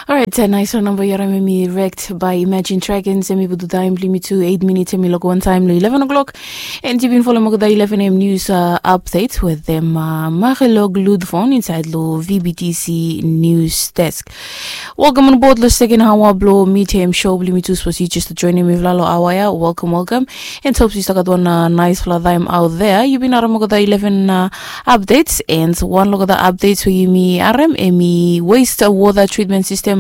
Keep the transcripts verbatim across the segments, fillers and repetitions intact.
Orait, nais wan namba yu harim em i Wrecked by Imagine Dragons. Em i putum taem blong yumi tu eight minutes, em i loko wan taem long eleven o'clock. And yu bin folem olgeta eleven a.m. news update wetem Marilog Ludvon insaed long V B T C News Desk. Welcome on board long second hour blong Meet Him show blong yumi tu. Sapos yu jes joinim mifala long hour ya, welcome, welcome. And hope yu stap gat wan naisfala taem out there. Yu bin harim olgeta eleven updates, and wan long olgeta updates we yumi harim em i waste water treatment system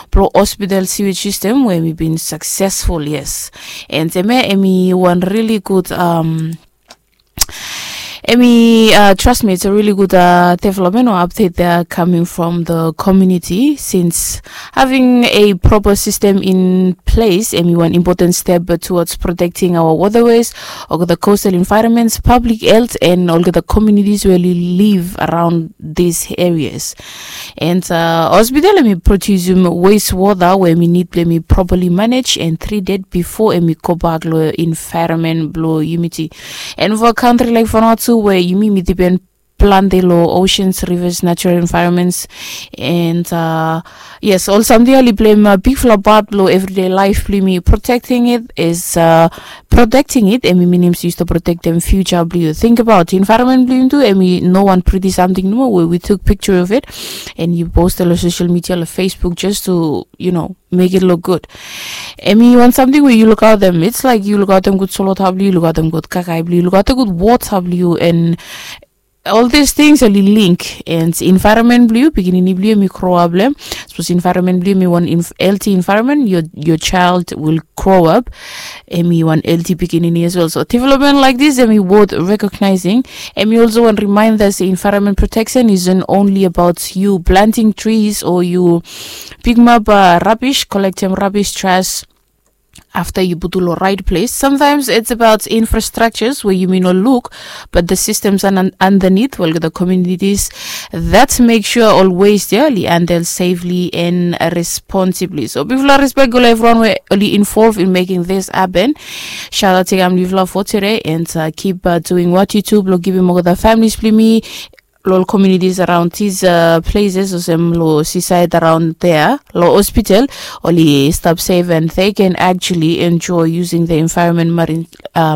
blong hospital sewage system we em i bin successful, yes. And em ya em i wan really good, um, em i, uh, trust me, it's a really good, uh, development or update there coming from the community, since having a proper system in place em i wan important step towards protecting our waterways, olgeta coastal environments, public health, and olgeta communities we oli live around these areas. And, uh, hospital em i produsim waste water we em i nid blong em i properly manage and treated before em i gobak long environment blong yumi. And for a country like Vanuatu we yumi mi dipen plante long oceans, rivers, natural environments, and, uh, yes, ol samting ya oli pleim, uh, bigfala part blong everyday life blong yumi. Protecting it is, uh, protecting it em i minim se yu stap protektem future blong yu. Think about environment blong yumi tu, em i no wan pretty samting nomo we we took picture of it and yu postem long social media, long Facebook, just to, you know, make it look good. Em i wan samting we yu lukaotem. It's like yu lukaotem gud solwota blong yu, yu lukaotem gud kakae blong yu, yu lukaotem gud wota blong yu, and all these things oli link. And environment blong yu, pikinini blong yu em i grow up long em. Sapos environment blong yu em i wan healthy environment, your, your child will grow up em i wan healthy pikinini as well. So development like this em i worth recognizing. Em i also wan reminder se environment protection isn't only about you planting trees or you pickimap, uh, rubbish, collectem rubbish, trash after yu putum long right place. Sometimes it's about infrastructures we yumi no luk, but the systems underneath, well, the communities that make sure ol waste ya oli handle safely and responsibly. So bigfala respect go long evriwan we oli involve in making this happen. Shout out to yumi bigfala for today, and, uh, keep, uh, doing what you do blong givim olgeta families blong yumi long communities around these, uh, places, olsem long seaside around there, long hospital, oli stap safe and they can actually enjoy using the environment, marine, uh,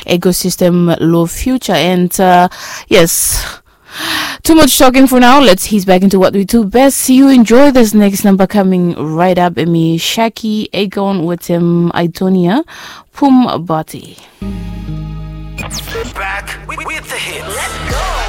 ecosystem long future. And, uh, yes, too much talking for now. Let's ease back into what we do best. You enjoy this next number coming right up. Em i Shaki Agon wetem Aidonia, Pum Bati. Back with, with the hits.